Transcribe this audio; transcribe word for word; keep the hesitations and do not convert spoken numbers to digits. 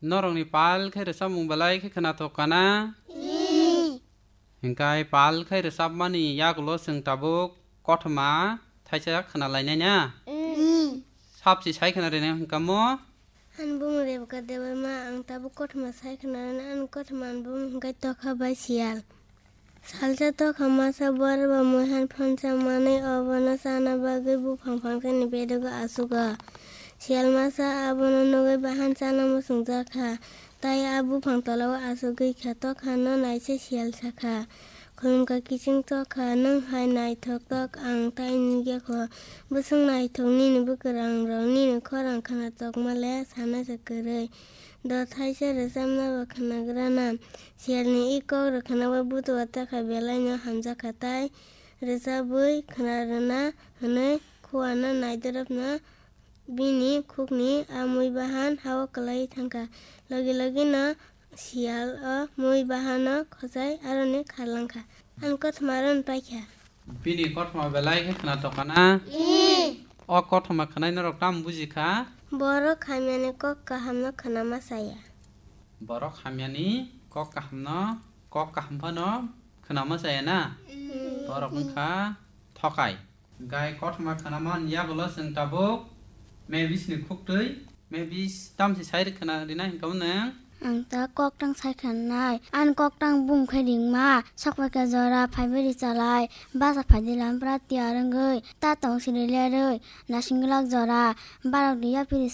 Norokni pal khe rwchapmung belai khe khwnathok kana? Hinkhe pal khe rwchapmani yagulo chwng tabuk kothoma thaisa khwnalainai na? Sabsi sai khwna rwna hinkamo? Ani bumung Rebeka Debbarma, ang tabuk kothoma sai khwnarwna, ani kothoma ani bumung hinkhe Tokha bai Siyal. Salsa Tokha masa bor ba muihan phonsa manwi obono chana bagwi buphang phangsani bedogo achugo. Siyal masa abono nugwi bahan chana muchungjakha, tai a buphang tolao achugwi kha. Tokhano naise Siyal sakha, "Khulumkha kiching Tokha, nwng hai naithok tok ang tai nukya kho. Bwswk naithok nini bwkrangrok, nini khorang khwna tokma le sanasa kwrwi. Do thaisa rwchapna bo khwnagrana." Siyalni i kok rwkhanao butua Tokha belaino hamjakha, tai rwchabwi khwna rwna hwnwi khuano naidoropno bini khukni a mui bahan hao kwlaiwi thangkha. Logi logino Siyal o mui bahano khojai aroni kharlangkha. Ani kothoma aroni paikha. Bini kothoma belai khe khwnathok kana? O kothoma khwnai norok tamo bujikha? Borok hamyani kok kahamno khwnama chaya. Borok hamyani kok kahamno, kok kaham phano khwnama chaya na? Borok wngkha thokai. Gai kothoma khwnamani yagulo chwng tabuk mebisni khuktwi, mebis tamsi sai khwna rina hinkha nwng? Ang ta koktang sai khwnanai, ani koktang bung khe ringma, sokphaikha jora phaibai ri chalai, basa phaidi lampra tiyar wngwi, ta tong siri lerwi, nasing glak jora, barok di yaphiri